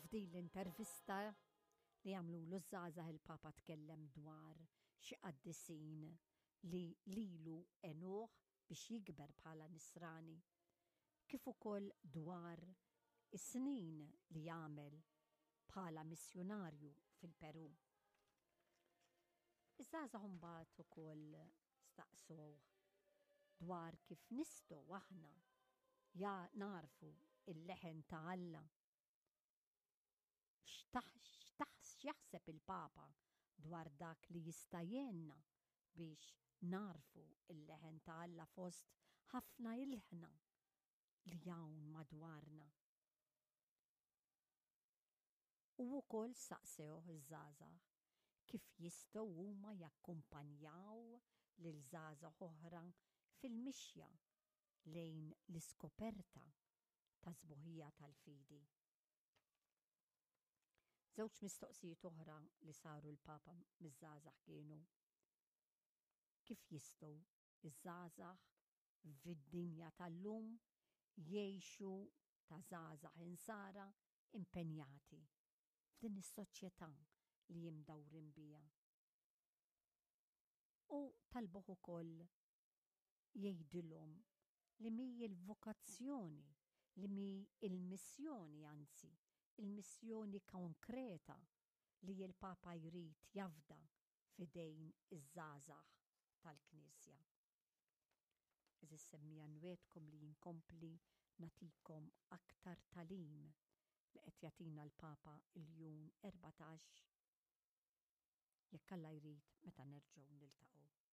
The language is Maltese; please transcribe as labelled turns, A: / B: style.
A: F'din l-intervista li għamlulu ż-żgħażagħ il-Papa tkellem dwar xi qaddisin li lilu għenuh biex jikber bħala Nisrani, kif ukoll dwar is-snin li għamel bħala missjunarju fil-Perù. Iż-żgħażagħ imbagħad ukoll staqsewh dwar kif nistgħu aħna ja nagħrfu l-leħen ta' Alla. X'jaħseb il-Papa dwar dak li jista' jgħinna biex nagħrfu l-leħen ta' Alla fost ħafna ilħna li hawn madwarna? U wkoll saqsewh iż-żgħażagħ kif jistgħu huma jakkumpanjaw lil żgħażagħ oħra fil-mixja lejn l-iskoperta tas-sbuħija tal-fidi. Żewġ mistoqsijiet oħra li saru l-Papa miż-żgħażagħ kienu, Kif jistgħu ż-żgħażagħ fid-dinja tal-lum jgħixu ta' żgħażagħ Insara impenjati f'din is-soċjetà li imdawrin biha? U talbuh ukoll jgħidilhom li mhi l-vokazzjoni, li mhi l-missjoni anzi, il-missjoni konkreta li l-Papa jrid jafda f'idejn iż-żgħażagħ tal-Knisja. Għeżież semmiegħa nwiegħdkom li inkompli nagħtikom aktar tagħlim li qed jagħtina l-Papa Ljun 14 jekk Alla jrid meta nerġgħu niltaqgħu.